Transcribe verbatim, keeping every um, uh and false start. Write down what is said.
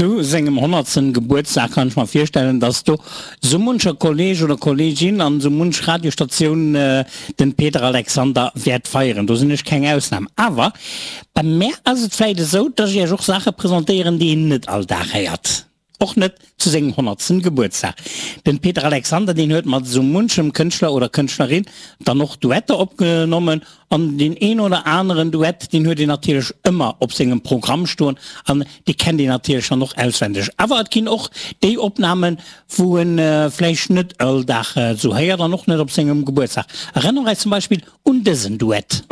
Zu sengem honnertsten Gebuertsdag kann ech mer virstellen, dass do sou muncher Kolleg oder Kollegin an sou munch Radiostatioun den Peter Alexander wäert feieren. Do sinn ech keng Ausnam. Awer bei mär ass et vläit esou, dass ech iech och Saache presentéieren, déi een net all Dag héiert. Och net zu sengem honnertsten Gebuertsdag. Den Peter Alexander, deen huet mat sou munchem Kënschtler oder Kënschtlerin dann och Duetter opgenommen an deen een oder aneren Duett, deen huet een natierlech ëmmer op sengem Programm stoen an dee kennt een natierlech dann och auswendeg. Awer et ginn och déi Opnamen, wou en vläicht net all Dag sou héiert an och net op sengem Gebuertsdag. Erënnere eis zum Beispill un dësen Duett.